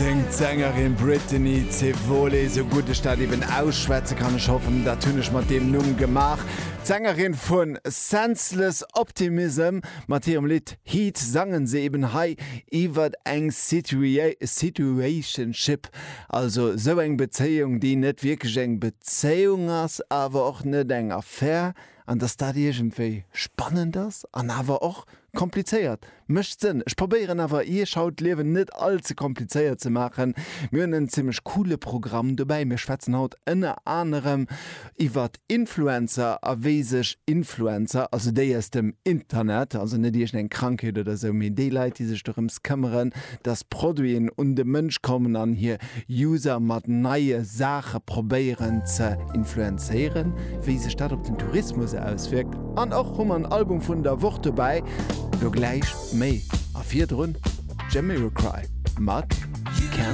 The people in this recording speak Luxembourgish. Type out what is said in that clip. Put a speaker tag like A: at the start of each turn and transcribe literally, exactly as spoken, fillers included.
A: Séngt d'Sängerin Brittany Cevoli, sou gutt ech dat eben ausschwätze kann, ech hoffen, dat hunn ech mat deem Numm gemaach. D'Sängerin vun Senseless Optimism mat hirem Lidd Heat sangen se eben hei iwwer eng Situa Situationship, also sou eng Bezéiung, déi net wierklech eng Bezéiung ass, awer och net eng Affär, an dass dat iergendwéi spannend ass an awer och komplizéiert. Mécht Sënn. Ech probéieren awer iech haut d'Liewen net all ze komplizéiert ze maachen. Mir hunn en zimmlech coole Programm dobäi. Mir schwätzen haut ënner anerem iwwert Influencer a wéi sech Influencer, also déi aus dem Internet, also net iergendeng Krankheet oder sou, mee déi Leit, déi sech dorëms këmmeren, dass Produiten un de Mënsch kommen an hir User mat neie Saache probéieren ze influenzéieren, wéi sech dat op den Tourismus auswierkt. An och hu mer en Album vun der Woch dobäi. Lo gläich méi. A virdrun Jamiroquai mat Can't